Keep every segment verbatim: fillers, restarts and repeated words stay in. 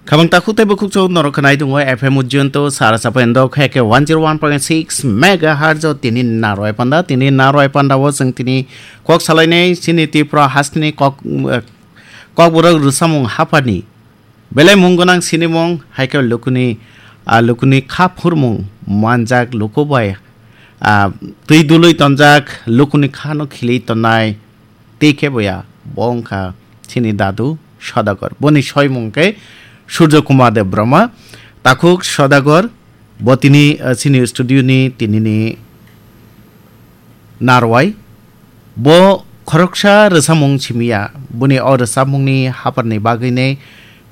Khabang takhuk tei bukhuk chok norok khnai tongo F M Ujjayanta sara chapendo khe khe one zero one point six megahertz o tini narwai panda, tini narwai panda o chwng tini kok salainai chini Tripura hasteni kok, eh, kokborok rwchapmung haphani belai mung gwnang sinimung hai khe lukuni, ah, lukuni kha phurmung manjak luku bai, ah, twi dului tonjak lukuni khano khili tonnai. Tei khe boya, bo wngkha chini dadu Sodagar. Boni soimung khe Surjo Kumar Debbarma. Takhuk Sodagar, bo tini, eh, chini studio ni tinini narwai. Bo khoroksa rwchapmung simiya. Boni o rwchapmungni haphar ni bagwi nei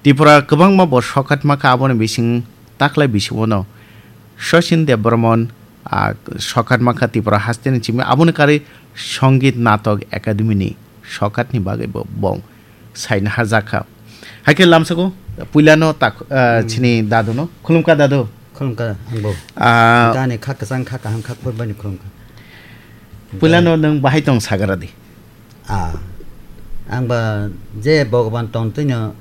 Tripura kwbangma bo sokhatma kha, aboni bising taklai bisingo no Sachin Debbarman, ah, sokhat mankha Tripura hasteni chimi, aboni karwi Songit Natok Academy ni sokhatni bagwi bo bong saina hajakha. Haikhe lamsako puilano tak, ah, Hmm. chini daduno. Khulumkha dadu. Khulumkha angbo. Ah. Gani kha kwchang kha kaham kha khorbaini khulumkha. Puilano nwng bahai tong sagaradi. Ah. Angba je Bhagwan tongtwino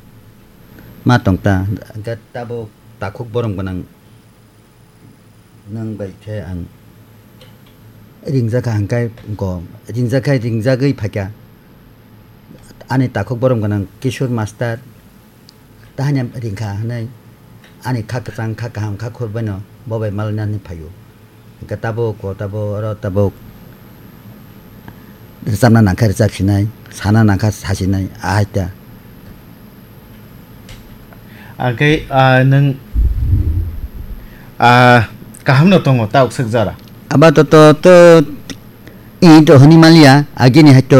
ma tongta. Hwnkhe tabuk takhuk borom gwnang. Nwng bai khe ang ringjakha hwnkhe ko ringjakha, ringjagwi phaikha. Ani takhuk borom gwnang Kishore Master tahani ringkha hwnwi ani kha kwchang, kha kaham, kha khorbaino bo bai malaina hwnwi phaio. Hwnkhe tabuk ko tabuk oro tabuk rwchapna nangkhe rwchapsinai, sana nangkha sasinai, ahai ta. Hwnkhe, ah, nwng, ah, kahamno tongo, ta uksuk jora? Aba to, to, to, i to hwnwi manliya, agini hai to